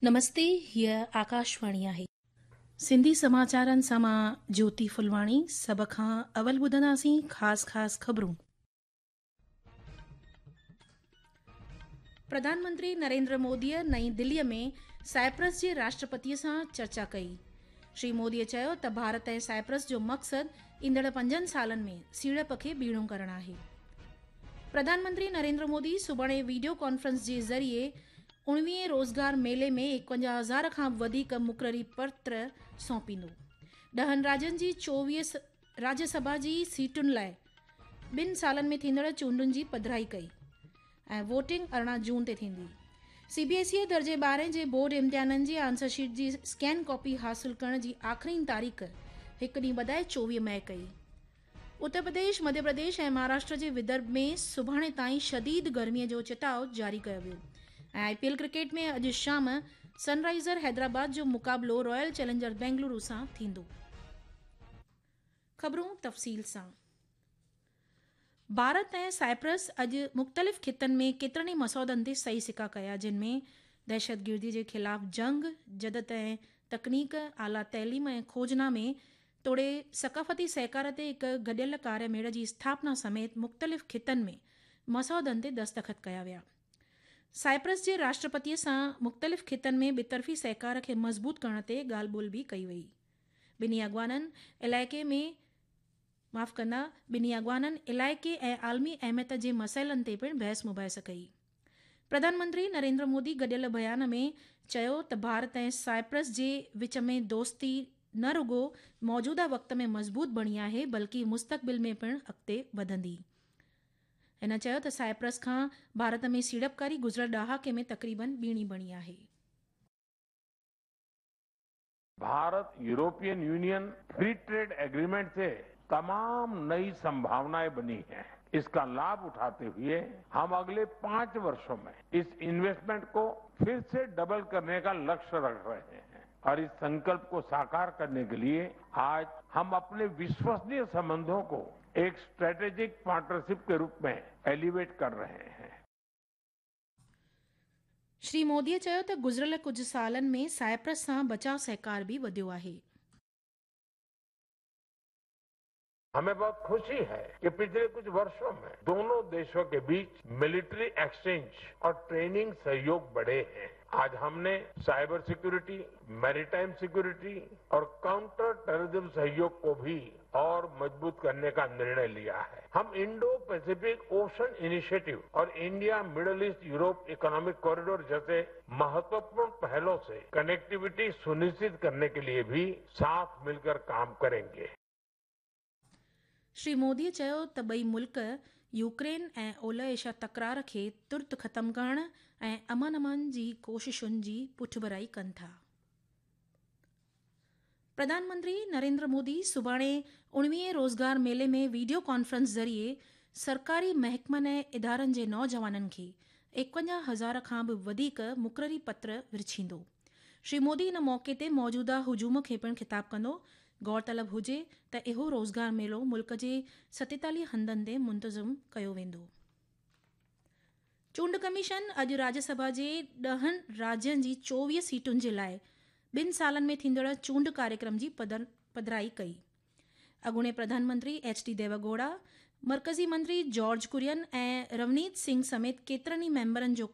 نمستي، هيء آڪاشواڻي آهي. سنڌي سماچارن سان مان جيوتي ڦلواڻي سڀ کان اول ٻڌنداسين خاص خاص خبرون. پرڌان منتري نريندر موديء نئين دليء ۾ سائپرس جي راشٽرپتيء سان چرچا ڪئي. شري موديء چيو ته ڀارت ۽ سائپرس جو مقصد ايندڙ پنجن سالن ۾ سيڙپ کي ٻيڻو ڪرڻ آهي. پرڌان منتري نريندر مودي سڀاڻي وڊيو ڪانفرنس جي ذريعي اڻويهين روزگار ميلي ۾ ايڪونجاهه هزار کان به وڌيڪ مقرري پتر سونپيندو. ڏهن راجين جي 24 راجيه سڀا جي سيٽن لاء ٻن سالن ۾ ٿيندڙ چونڊن جي پڌرائي ڪئي. ۽ ووٽنگ 18 جون تي ٿيندي. سي بي ايس اي درجي ٻارهين جي بورڊ امتحانن جي آنسر شيٽ جي اسڪين ڪاپي حاصل ڪرڻ جي آخرين تاريخ هڪ ڏينهن وڌائي 24 مئي ڪئي. اتر پرديش، مڌيه پرديش ۽ مهاراشٽر جي ودرڀ ۾ سڀاڻي تائين شديد گرمي جو چتاء جاري ڪيو ويو ۽ آء پي ايل ڪرڪيٽ ۾ اڄ شام سن رائيزر حيدرآباد جو مقابلو رائل چئلينجرز بينگلورو سان ٿيندو. خبرون تفصيل سان. ڀارت ۽ سائپرس اڄ مختلف خطن ۾ ڪيترن ئي مسودن تي صحيح سڪا ڪيا جن ۾ دهشتگردي جي خلاف جنگ، جدت ۽ تڪنيڪ، اعليٰ تعليم ۽ کوجنا ۾ توڙي ثقافتي سهڪار تي هڪ گڏيل ڪاري ميڙ جي اسٿاپنا سميت مختلف خطن ۾ مسودن تي دستخط ڪيا ويا. سائپرس جي راشٽرپتي سان مختلف خطن ۾ ٻطرفي سهڪار کي مضبوط ڪرڻ تي ڳالهه ٻولهه به ڪئي وئي. ٻنهي اڳواڻن علائقي ۾ معاف ڪندا، ٻنهي اڳواڻن علائقي ۽ عالمي اهميت جي مسئلن تي پڻ بحث مباحثه ڪئي. پرڌان منتري نريندر مودي گڏيل بيان ۾ چيو ته ڀارت ۽ سائپرس جي وچ ۾ دوستي نه رڳو موجوده وقت ۾ مضبوط بڻي آهي بلڪه مستقبل ۾ پڻ اڳتي وڌندي. هن چيو ته سائپرس کان ڀارت ۾ سيڙپڪاري گذريل ڏهاڪي ۾ تقريبن ٻيڻي بڻي آهي. Bharat European Union free trade agreement से तमाम नई संभावनाएं बनी हैं। इसका लाभ उठाते हुए हम अगले 5 वर्षों में इस इन्वेस्टमेंट को फिर से डबल करने का लक्ष्य रख रहे हैं और इस संकल्प को साकार करने के लिए आज हम अपने विश्वसनीय संबंधों को एक स्ट्रेटेजिक पार्टनरशिप के रूप में एलिवेट कर रहे हैं। شري مودي چيو ته گذريل ڪجهه سالن ۾ سائپرس سان بچاء سهڪار به وڌيو آهي. हमें बहुत खुशी है कि पिछले कुछ वर्षों में दोनों देशों के बीच मिलिट्री एक्सचेंज और ट्रेनिंग सहयोग बढ़े हैं। आज हमने साइबर सिक्योरिटी, मैरीटाइम सिक्योरिटी और काउंटर टेररिज्म सहयोग को भी और मजबूत करने का निर्णय लिया है। हम इंडो पैसिफिक ओशन इनिशिएटिव और India Middle East Europe economic corridor जैसे महत्वपूर्ण पहलों से कनेक्टिविटी सुनिश्चित करने के लिए भी साथ मिलकर काम करेंगे। شري مودي چيو ته ٻئي ملڪ يوڪرين ۽ اولهه ايشيا تڪرار کي ترت ختم ڪرڻ ۽ امن امان جي ڪوششن جي پٺڀرائي ڪن ٿا. پرڌان منتري نريندر مودي سڀاڻي اڻويهين روزگار ميلي ۾ وڊيو ڪانفرنس ذريعي سرڪاري محڪمن ۽ ادارن جي نوجوانن کي ايڪونجاهه هزار کان به وڌيڪ مقرري پتر ورڇيندو. شري مودي ان موقعي تي موجوده هجوم کي پڻ خطاب ڪندو. غور طلب هجي ته اهو روزگار ميلو ملڪ جي 47 هنڌن تي منتظم ڪيو ويندو. چونڊ ڪميشن اڄ راجيه سڀا جي ڏهن راجين جي 24 سيٽن جي لاء ٻن سالن ۾ ٿيندڙ چونڊ ڪاريڪرم جي پڌرائي ڪئي. اڳوڻي پرڌان منتري ايڇ ڊي ديوگوڙا، مرڪزي منتري جارج ڪرين ۽ رونيت سنگهه سميت ڪيترن ئي ميمبرن جو